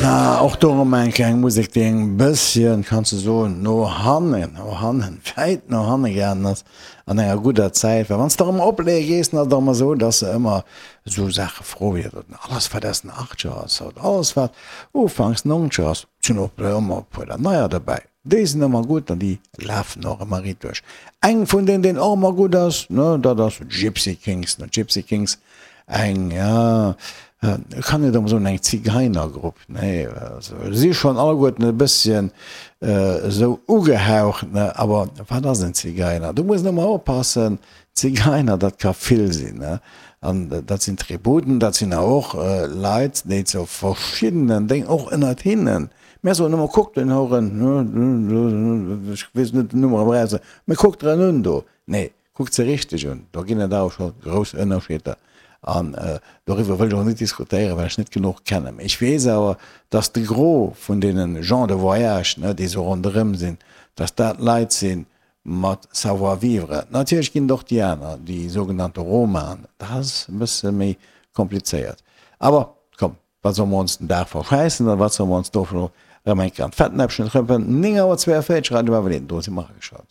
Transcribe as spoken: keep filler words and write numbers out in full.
Na, och do erëm eng kleng Musek, déi eng bësschen, kanns de soen, no hannen, no hannen, wäit no hanne gaangen ass an enger gudder Zäit. Well wann s de erëm opleeë gees, dann ass et ëmmer esou, dass se ëmmer esou Saache froe wéi, alles wat aus den Achtzeger ass oder alles wat ufanks Nonzeger ass, et sinn och ëmmer e puer der neier dobäi. Déi sinn ëmmer gutt an déi lafen och ëmmer riit duerch. Eng vun deenen, deen och ëmmer gutt ass, ne, dat ass Gypsy Kings. Ne, Gypsy Kings, eng, ja, kann net ëmmer soen eng Zigeinergrupp, nee, also si schonn alleguerten e bësschen esou ugehaucht, ne, awer wat ass en Zigeiner? Do muss een ëmmer oppassen, Zigeiner, dat ka vill sinn, ne, an dat sinn Tributen, dat sinn awer och Leit, déi zu verschiddenen Déng, och ënnert hinnen, Mär soen ëmmer, kuckt den Horen, ech weess net den Numm erëm eraus, mä kuckt der en un do. Nee, kuckt se richteg un, do ginn et awer scho grouss Ënnerscheeder. An doriwwer wëll ech och net diskutéieren, well ech net genuch kennen. Mä ech weess awer, dass de Gros vun deene Gens de voyage, déi esou ronderëm sinn, dass dat Leit si mat Savoir-vivre. Natierlech ginn et och déi aner, déi sougenannte Romaen, dat ass e bësse méi komplizéiert. Awer komm, Wat solle mer ons den Dag verschäissen oder wat solle mer ons do elo erëm eng Kéier an d'Fettnäppchen trëppelen? Néng Auer zweeënvéierzeg, Radio Bavelin, do si mer ageschalt.